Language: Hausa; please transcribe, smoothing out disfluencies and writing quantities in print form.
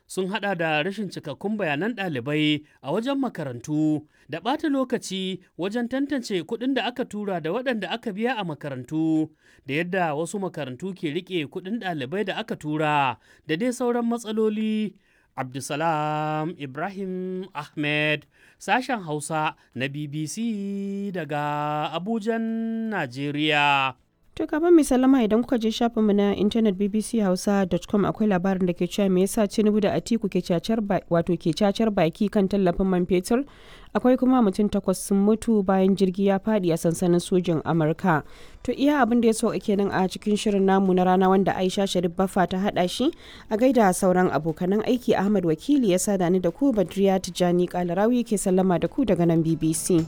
Sun haɗa da rashin cikakkun bayanan ɗalibai a wajen makarantu da ɓata lokaci wajen tantance kuɗin da aka tura da waɗanda aka biya a makarantu da yadda wasu makarantu ke riƙe kuɗin ɗalibai da aka tura da dai sauran matsaloli. Abdulsalam Ibrahim Ahmed, sashen Hausa na BBC daga Abujan, Najeriya. To kafin mai sallama, idan kuka je shafinmu na intanet bbchausa.com, akwai labarin da ke cewa me yasa Tinubu da Atiku ke cacar wato ke cacar baki kan tallafin man fetur. Akwai kuma mutum 8 sun mutu bayan jirgi ya fadi a sansanin sojin Amurka. To iya abin da ya so kenan a cikin shirin namu na rana wanda Aisha Sharif Baffa ta hada shi. A gaida sauran abokanan aiki, Ahmad Wakili ya sada ni da ku, Badriya Tijani Kalarawi ke sallama da ku daga nan BBC.